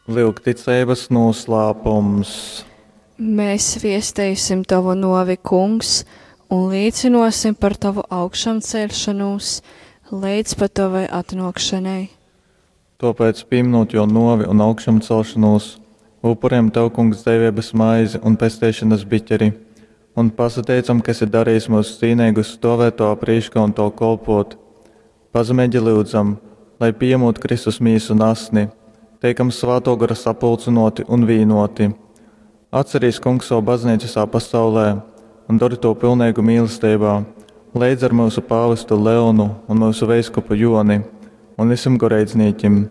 Lyugticeibas nūslāpums. Mēs viesteisim tavu nuovi, Kungs, un līcinosim par tavu augšamceļšanūs leidz pat tavai atnōkšanai. Tōpēc, pīminūt jō nōvi un augšamcelšanūs, upurējam Tev, Kungs, dzeiveibas maizi un pesteišonas biķeri, un pasateicam, ka esi darījis myus cīneigus stovēt Tavā prīškā un Tev kolpot. Pazemeigi lyudzam, lai pījemūt Kristus mīsu un asni, teikam Svātō Gora sapulcynōti un vīnōti. Atcerīs, Kungs, savu baznīcu visā pasaulē un dori to pilneigu mīlesteibā, leidz ar myusu pāvestu Leonu un myusu veiskupu Joni un visiem goreidznīkim.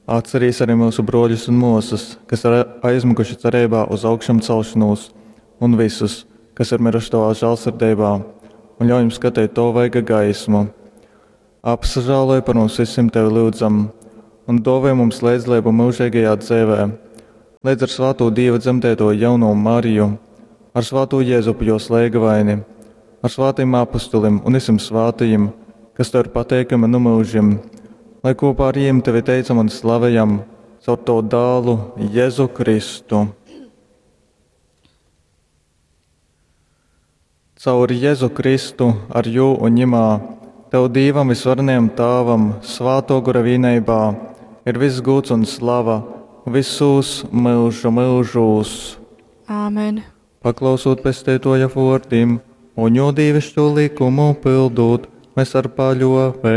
Atcerīs arī myusu brōļus un mōsas, kas ir aizmiguši cereibā uz augšamcelšanos, un visus, kas ir miruši Tavā žālsirdeibā, un ļauj jums skatīt Tavu vaiga gaismu. Apsažāloj par mums visiem Tevi lyudzam, un dāvāj mums līdzdalību mūžīgajā dzīvē, līdz ar svāto Dieva dzemdēto jauno Mariju, ar svāto Jēzupu jos lēgavaini, ar svātiem apustulim un visiem svātajiem, kas Tev ir pateikami nu mūžiem, lai kopā ar jiem Tevi teicam un slavējam caur Tavu dālu Jēzu Kristu. Caur Jēzu Kristu, ar jū un ņimā, Tev Dīvam visvarenajam Tāvam, svāto gora vīneibā, ir viss gūds un slava visos myužu myužūs. Āmen. Paklausot pesteitoja vōrdim un jo dīvišķo likumu pildūt, mēs ar paļōveibu.